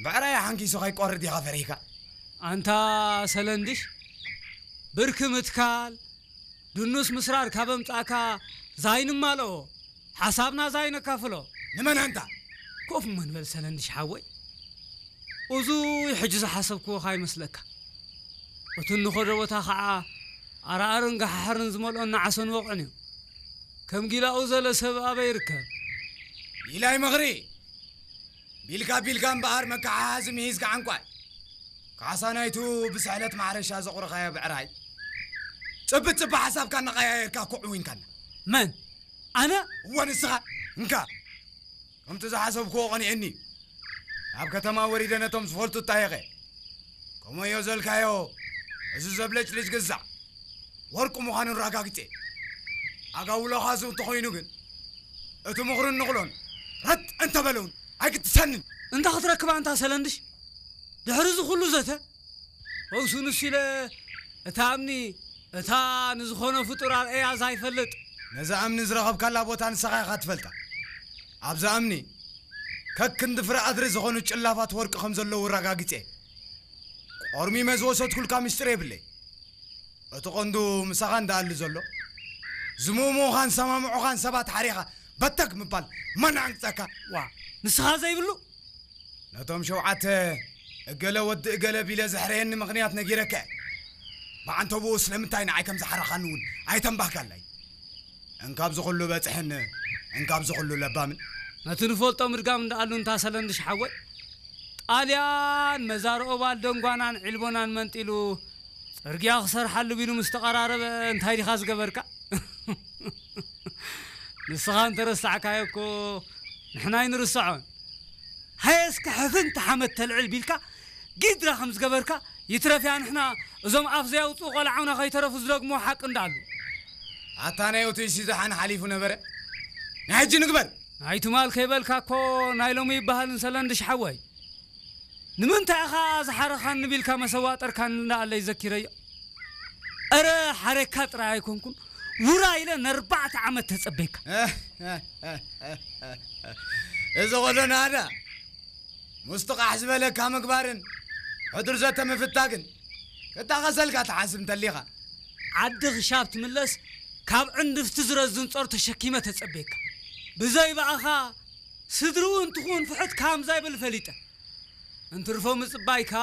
ብዕራይ ሓንኪሱ ከይቆርድ ኢኻ ፈሪህካ። ኣንታ ሰለንድሽ፣ ብርኪ ምትካል፣ ድኑስ ምስራር ካብ ኣምጻእካ ዛይንማልኦ፣ ሓሳብና ዛይነካፍሎ። ንመን ኣንታ? ኮፍ እሞ ንበል ሰለንድሽ ሓወይ። እዙይ ሕጂ ዝሓሰብክዎ ካይመስለካ። እቲ እንኸዶ ቦታ ኸዓ ኣርኣርን ጋሓሕርን ዝመልኦን ንዓሰን ወቕዕን እዩ። ከም ጊላኡ ዘለ ሰብ ኣበይ ይርከብ? ጊላይ መኽሪ! ቢልካ ቢልካ እምበኣር መከሓሓዚ ምሂዝካ ዓንቋይ። ካሳ ናይቱ ብስሕለት ማሕረሻ ዘቑረኻዮ ብዕራይ። ጽብጽብ ሓሳብካ እናቐያየርካ እኮ ዕዊንካና። መን? ኣነ? እወ ንስኻ። እንካ። ከምቲ ዝሓሰብክዎ ቐኒኤኒ። ኣብ ከተማ ወሪደ ነቶም ዝፈልጡ እጣየቐ። ከምኡዮ ዘልካዮ፣ እዚ ዘብለጭልጭ ግዛዕ ወርቂ ምዃኑ ኣረጋግጼ። ኣጋውሎኻ እዚ እንተኾይኑ ግን፣ እቲ ምኽሩን ንቕሎን ረጥ እንተበለውን ኣይክትሰንን። እንታ ክትረክባ እንታ ሰለንድሽ? ድሕሪ እዚ ኩሉ ዘተ? ወግሱ ንሱ ኢለ እታ እምኒ፣ እታ ንዝኾነ ፍጡር ኣርእያ ዘይፈልጥ። ነዛ እምኒ ዝረኸብካላ ቦታ ንስኻ ኢኻ ትፈልጣ። ኣብዛ እምኒ፣ ከክንዲ ፍረ ኣድሪ ዝኾኑ ጭላፋት ወርቂ ከም ዘለዉ ኣረጋጊጸ። ቆርሚመ ዝወሰድኩልካ ምስጢር የብለይ። እቲ ቐንዱ ምሳኻ እንዳኣሉ ዘሎ፣ ዝምእምኡኻን ሰማምዑኻን ሰባት ሓሪኻ በተግ ምባል መን ኣንቅጸካ? ዋ፣ ንስኻ ዘይብሉ? ነቶም ሸውዓተ እገለ ወዲ እገለ ቢለ ዘሕረየኒ ምኽንያት ነጊረካ እየ። ብዓንተብኡ ስለምንታይ ንዓይ ከም ዝሓረኻኒ እውን ኣይተንባህካለይ። እንካብ ዝኹሉ በጽሕን እንካብ ዝኹሉ ለባምን። ነቲ ንፈልጦ ምድጋም እንዳኣሉ እንታ ሰለንድሽ ሓወይ፣ ጣልያን መዛርኦባል ደንጓናን ዒልቦናን መንጢሉ ጽርግያ ክሰርሓሉ ቢሉ ምስ ተቐራረበ እንታይ ዲኻ ዝገበርካ? ንስኻ እንተረሳዕካዮ እኮ ንሕና ኣይንርስዖን። ሃየ እስከ ሕፍንቲ ሓመድ ተልዕል ቢልካ ጊድራ ከም ዝገበርካ ይትረፍያ ንሕና እዞም ኣፍ ዘያውፅኡ ቆልዓውና ከይተረፉ ዝደግሞ ሓቂ እንዳኣሉ። ኣታ ናይ ኦቱይ ሲዛሓን ሓሊፉ ነበረ። ናይ ሕጂ ንግበር። ናይ ትማል ከይበልካ እኮ ናይ ሎሚ ይበሃል እንሰለንድሽ ሓወይ። ንምንታይ ኢኻ ዝሓረኻኒ ቢልካ መሰዋጠርካኒ እንዳኣለ ይዘኪረዮ። እረ ሓሬካ ጥራይ ኣይኮንኩን፣ ውራ ኢለ ነርባዕተ ዓመት ተጸበይካ። እዚ ኹሉ ናዳ ሙስጥቓሕ ዝበለካ ምግባርን ሕዱር ዘተ ምፍታግን ክታኸሰልካ ትሓስብ እንተሊኻ። ዓዲ ክሻብ ትምለስ ካብ ዕንድፍቲ ዝረዝን ጾር ተሸኪመ ተጸበየካ። ብዘይ ብኣኻ ስድርኡ እንትኹን ፍሕት ካም ዘይብል ፈሊጠ። እንትርፎ ምጽባይካ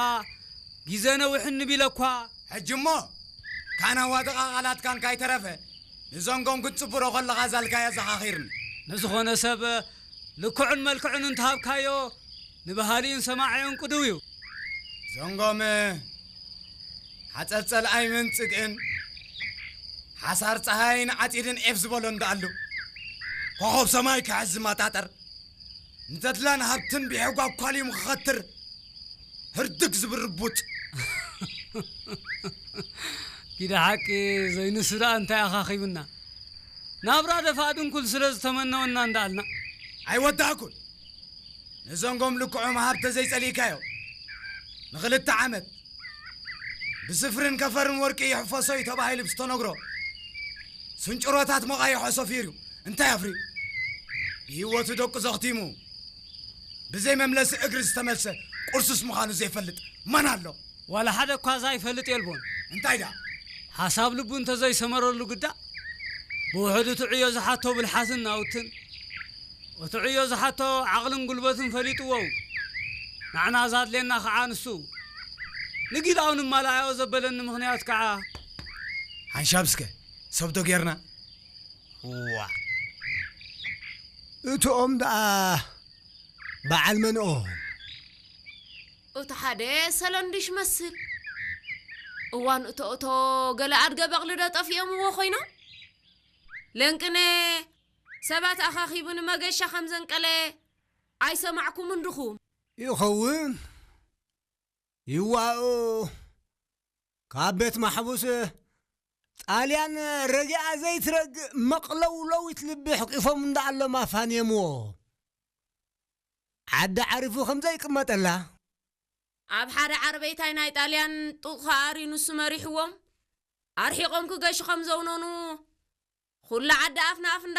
ግዜ ነዊሕኒ ቢለ እኳ። ሕጂ እሞ ካናዋድቓ ቓላትካን ካይተረፈ ንዘንጎም ክትጽብሮ ከለኻ ዛልካያ ዘኻኺርኒ። ንዝኾነ ሰብ ልክዑን መልክዑን እንተሃብካዮ ንበሃሊኡን ሰማዒኡን ቅዱው እዩ። ዘንጎም ሓጸር ጸልኣይ መንጽግእን ሓሳር ጸሃይን ዓጺድን ዔፍ ዝበሎ እንዳኣሉ ኮኾብ ሰማይ ክሕዝ ዝመጣጠር ንተድላን ሃብትን ብሔጓ ኳልዩም ክኸትር ህርድግ ዝብል ርቡጥ። ጊዳ ሓቂ ዘይንሱ ደኣ እንታይ ኣኻኺቡና? ናብራ ደፋእ ድንኩል ስለ ዝተመነወና እንዳኣልና። ኣይወዳእኩን። ንዘንጎም ልክዖም ሃብተ ዘይጸሊእካዮ ንኽልተ ዓመት ብስፍርን ከፈርን ወርቂ ይሕፈሶ እዩ ተባሂሉ ብዝተነግሮ ስንጭሮታት መቓይሖ ሰፊሩ እንታይ ኣፍርዩ ብህይወቱ ደቁ ዘኽቲሙ ብዘይ መምለሲ እግሪ ዝተመልሰ ቁርሱስ ምዃኑ ዘይፈልጥ መን ኣሎ? ዋላ ሓደ እኳ ዘይፈልጥ የልቦን። እንታይ ደኣ? ሓሳብ ልቡ እንተዘይሰመረሉ ግዳ ብውሕዱ እቲ ዕዮ ዝሓቶ ብልሓትን ናውትን እቲ ዕዮ ዝሓቶ ዓቕልን ጉልበትን ፈሊጥዎ እዩ። ንዓና ዛድልየና ከዓ ንሱ እዩ። ንጊላኡ ንማልኣዮ ዘበለኒ ምኽንያት ከዓ ሓንሻብ እስከ ሰብ ዶ ጌርና? ዋ እትኦም ደኣ በዓል መንኦም? እቲ ሓደ ሰለንድሽ መስል። እዋን እቶ እቶ ገለ ኣድገ በቕሊ ዶ ጠፊኦምዎ ኮይኖም? ለንቅነ ሰባት ኣኻኺቡ ንመገሻ ከም ዘንቀለ ኣይሰማዕኩምን ድኹም? ይኸውን። ይዋኡ ካብ ቤት ማሕቡስ ጣልያን ረጊኣ ዘይትረግእ መቕለውለዊት ልቢ ሕቂፎም እንዳኣሎም ኣፋንየምዎ። ዓዲ ዓሪፉ ከም ዘይቅመጠላ። ኣብ ሓደ ዓርበይታይ ናይ ጣልያን ጡቕ ከኣርዩ ንሱ መሪሕዎም። ኣርሒቖም ክገሹ ከም ዘውነኑ ኩሉ ዓዲ ኣፍ ንኣፍ